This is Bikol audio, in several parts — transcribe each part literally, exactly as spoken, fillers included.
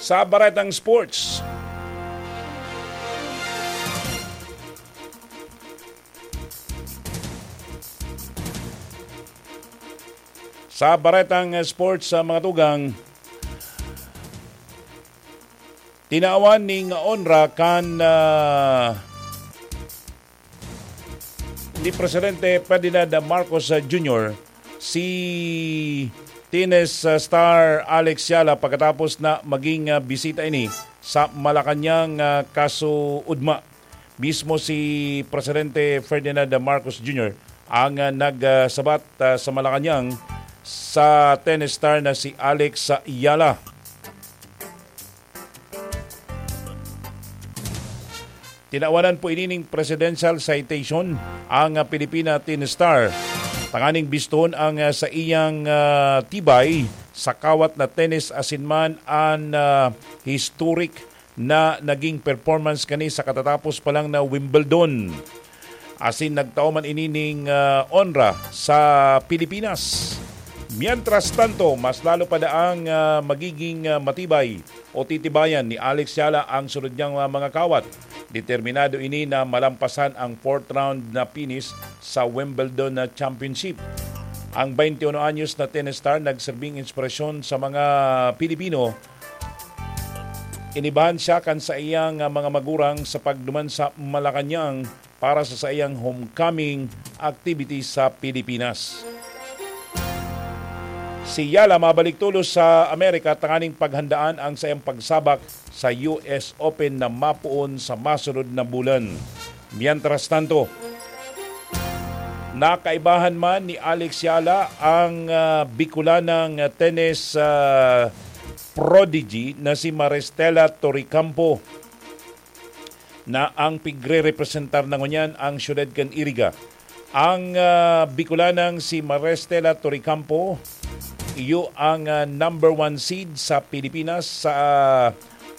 Sa baretang sports. Sa baretang sports, sa mga tugang, tinawan ning onra kan, ah, ni Presidente Ferdinand Marcos, ah, Junior si tennis, ah, star Alex Yala pagkatapos na maging, ah, bisita ini sa Malacañang, ah, kasuodma. Mismo si Presidente Ferdinand Marcos Junior ang, ah, nagsabat, ah, sa Malacañang sa tennis star na si Alex Yala. Tinawanan po ini ning presidential citation ang, ah, Pilipina tennis star, tanganing biston ang, ah, sa iyang, ah, tibay sa kawat na tennis asin man an, ah, historic na naging performance kani sa katatapos pa lang na Wimbledon. Asin nagtao man ini ning, ah, onra sa Pilipinas. Mientras tanto, mas lalo pa daang, ah, magiging, ah, matibay o titibayan ni Alex Yala ang sunod niyang, ah, mga kawat. Determinado ini na malampasan ang fourth round na finish sa Wimbledon na championship. Ang twenty-one anyos na tennis star nagserbing inspirasyon sa mga Pilipino. Inibahan siya kan saiyang, ah, mga magurang sa pagduman sa Malacañang para sa saiyang homecoming activity sa Pilipinas. Si Yala mabalik tolos sa Amerika tanganing paghandaan ang saiyang pagsabak sa U S Open na mapoon sa masunod na bulan. Mientras tanto, nakaibahan man ni Alex Yala ang, ah, Bicolanang tennis, ah, prodigy na si Maristela Torrecampo na ang pigre-representar na ngunyan ang siyudad kan Iriga. Ang, ah, Bicolanang si Maristela Torrecampo, iyo ang, ah, number one seed sa Pilipinas sa, ah,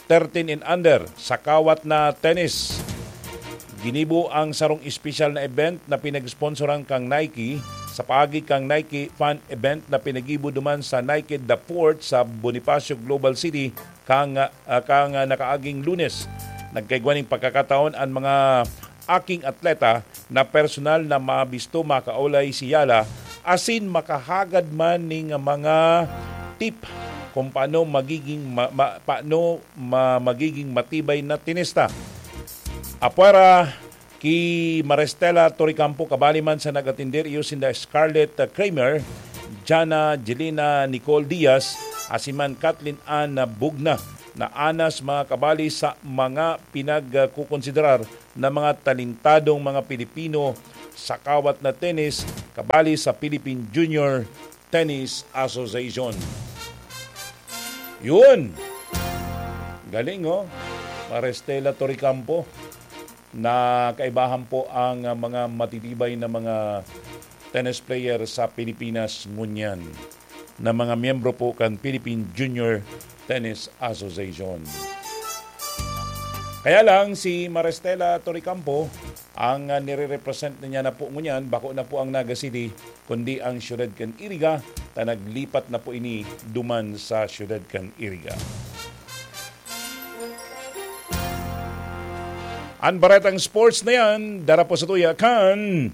thirteen and under sa kawat na tennis. Ginibo ang sarong espesyal na event na pinag-sponsoran kang Nike sa paagi kang Nike Fan Event na pinagibo duman sa Nike The Fort sa Bonifacio Global City kang, ah, kang, ah, nakaaging Lunes. Nagkaigwa ning pagkakataon an mga aking atleta na personal na mabisto, makaulay si Yala asin makahagad man ning mga tip kung paano magiging ma-, ma-, paano ma-, magiging matibay na tenista. Apwera ki Maristela Torrecampo, kabali man sa nag-atender iyo sinda Scarlett Kramer, Jana Jelena Nicole Diaz, asin man Kathleen Ann Bugna, na anas mga kabali sa mga pinagkukonsiderar na mga talentadong mga Pilipino sa kawat na tennis, kabali sa Philippine Junior Tennis Association. Yun! Galing, oh. Maristela Torrecampo. Nakaibahan po ang, ah, mga matitibay na mga tennis player sa Pilipinas ngunyan na mga miyembro po kan Philippine Junior Tennis Association. Kaya lang, si Maristela Torrecampo, ang, ah, nire-represent na niya na po ngunyan, bako na po ang Naga City, kundi ang siyudad kan Iriga, ta naglipat na po ini duman sa siyudad kan Iriga. An baretang sports na yan, dara po sa tuya kan